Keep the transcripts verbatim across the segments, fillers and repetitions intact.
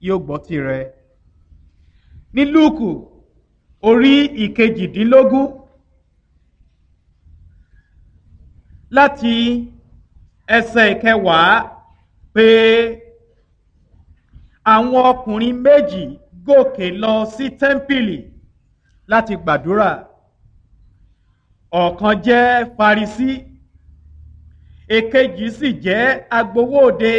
yóò gbọ́ tirẹ̀. Ní Lúùkù orí ìkejìdínlógún láti ẹsẹ̀ ìkẹwàá pé àwọn ọkùnrin méjì gòkè lọ sí tẹ́ḿpìlì láti gbàdúrà. Ọ̀kan jẹ́ Farisí, èkejì sì jẹ́ agbowó òde.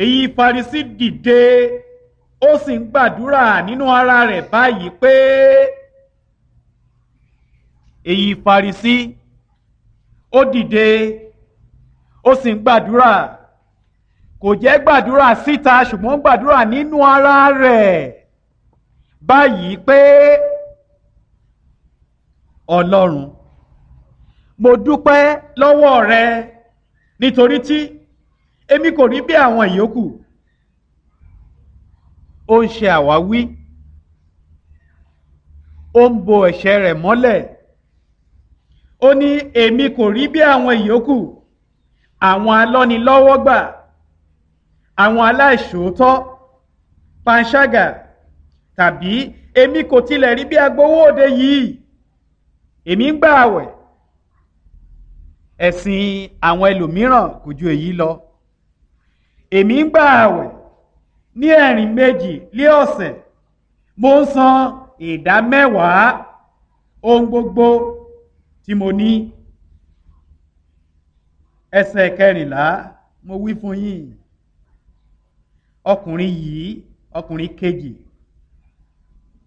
Èyí Farisí dìde, ó sì ń gbàdúrà nínú ara rẹ̀ báyìí pé, èyí Farisí ó dìde, ó sì ń gbàdúrà. Kò jẹ́ gbàdúrà síta ṣùgbọ́n gbàdúrà nínú ara rẹ̀ báyìí pé, Ọlọ́run, mo dúpẹ́ lọ́wọ́ rẹ nítorí tí èmi kò rí bí àwọn ìyókù. Ó ń ṣe àwáwí, ó ń bo ẹ̀ṣẹ̀ rẹ̀ mọ́lẹ̀. Ó ní èmi kò rí bí àwọn ìyókù, àwọn alọ́nilọ́wọ́gbà, àwọn aláìṣòótọ́, panṣágà, tàbí èmi kò tilẹ̀ rí bí agbowó òde yìí. Èmi ń gbà àwẹ̀. Ẹ̀sìn àwọn ẹlòmíràn kò ju èyí lọ. Èmi ń gbà àwẹ̀ ní ẹ̀rìn méjì lé ọ̀sẹ̀. Mo ń san ìdá mẹ́wàá ohun gbogbo tí mo ní. Ẹsẹ̀ kẹrìnlá, mo wí fún yín, ọkùnrin yìí, ọkùnrin kejì,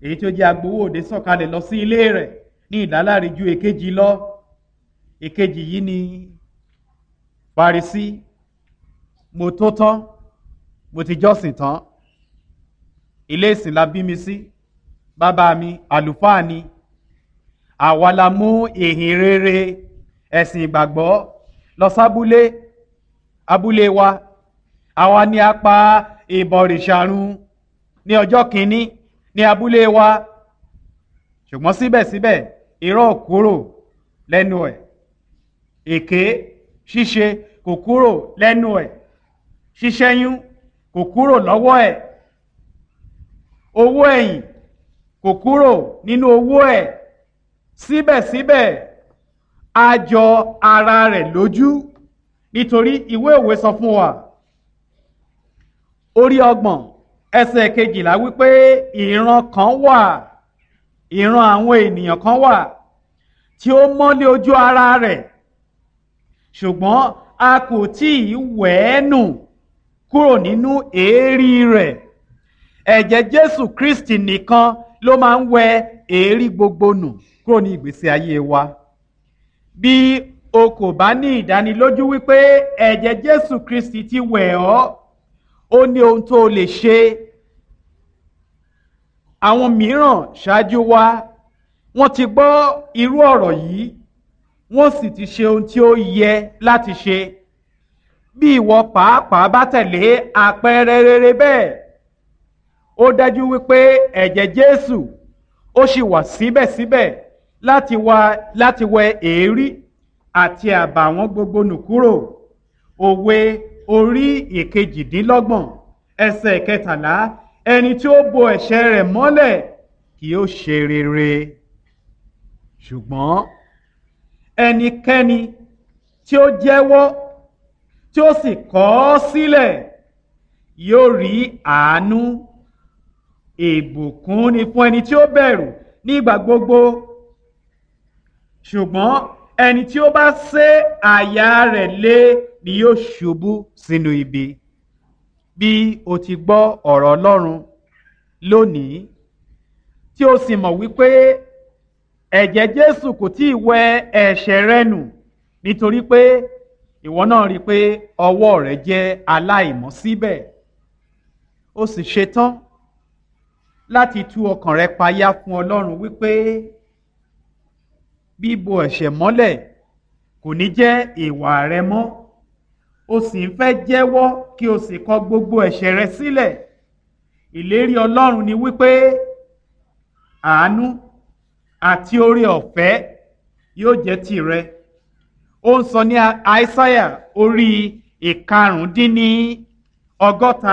èyí tí ó jẹ́ agbowó òde sọ̀kalẹ̀ lọ sí ilé rẹ̀ ní ìdáláre ju èkejì lọ. Èkejì yìí ni Farisí. Mo tó tán, mo ti jọ́sìn tán. Ilé ìsìn la bí mi sí. Bàbá mi àlùfáà ni. Àwa la mú ìhìn rere ẹ̀sìn ìgbàgbọ́ lọ sábúlé, abúlé wa. Àwa ni a pa ìbọ̀rìṣà run ní ọjọ́ kìíní ní abúlé wa. Ṣùgbọ́n síbẹ̀síbẹ̀ irọ́ ò kúrò lẹ́nu ẹ̀. Èké ṣíṣe kò kúrò lẹ́nu ẹ̀. Ṣíṣẹ́yún kò kúrò lọ́wọ́ ẹ̀. Owó ẹ̀yìn kò kúrò nínú owó ẹ̀. Síbẹ̀síbẹ̀ a jọ ara rẹ̀ lójú nítorí ìwé òwe sọ fún wa. Orí ọgbọ̀n ẹsẹ̀ kejìlá wípé ìran kan wà, ìran àwọn ènìyàn kan wà tí ó mọ́lé ojú ara rẹ̀, ṣùgbọ́n a kò tí ì wẹ̀ ẹ́ nù kúrò nínú èérí rẹ̀. Ẹ̀jẹ̀ Jésù Kristi nìkan ló máa ń wẹ èérí gbogbo nù kúrò ní ìgbésí ayé wa. Bí o kò bá ní ìdánilójú wípé ẹ̀jẹ̀ Jésù Kristi ti wẹ̀ ọ́, ó ní ohun tó lè ṣe. Àwọn mìíràn ṣáájú wa, wọ́n ti gbọ́ irú ọ̀rọ̀ yìí, wọ́n sì ti ṣe ohun tí ó yẹ láti ṣe. Bí ìwọ pàápàá bá tẹ̀lé àpẹẹrẹ rere bẹ́ẹ̀, ó dájú wípé ẹ̀jẹ̀ Jésù ó sì wà síbẹ̀síbẹ̀ láti wá láti wẹ èérí àti àbàwọ́n gbogbo nù kúrò. Òwe orí ìkejìdínlọ́gbọ̀n ẹsẹ̀ kẹtàlá, ẹni tí ó bo ẹ̀ṣẹ̀ rẹ̀ mọ́lẹ̀ kì yóò ṣe rere. Ṣùgbọ́n ẹnikẹ́ni tí ó jẹ́wọ́ tí ó sì kọ̀ ọ́ sílẹ̀ yóò rí àánú. Ìbùkún ni fún ẹni tí ó bẹ̀rù nígbà gbogbo. Ṣùgbọ́n ẹni tí ó bá sé àyà rẹ̀ lé ni yóò ṣubú sínú ibi. Bí o ti gbọ́ ọ̀rọ̀ Ọlọ́run lónìí, tí o sì mọ̀ wípé ẹ̀jẹ̀ Jésù kò tí ì wẹ ẹ̀ṣẹ̀ rẹ nù, nítorí pé ìwọ náà rí i pé ọwọ́ rẹ jẹ́ aláìmọ́ síbẹ̀. Ó sì ṣetán láti tú ọkàn rẹ payá fún Ọlọ́run wípé bíbo ẹ̀ṣẹ̀ mọ́lẹ̀ kò ní jẹ́ ìwà rẹ mọ́. O sì ń fẹ́ jẹ́wọ́ kí o sì kọ gbogbo ẹ̀ṣẹ̀ rẹ sílẹ̀. Ìlérí Ọlọ́run ni wípé àánú àti oore ọ̀fẹ́ yóò jẹ́ tìrẹ. Ó ń sọ ní Aísáyà orí ìkarùndínní ọgọ́ta.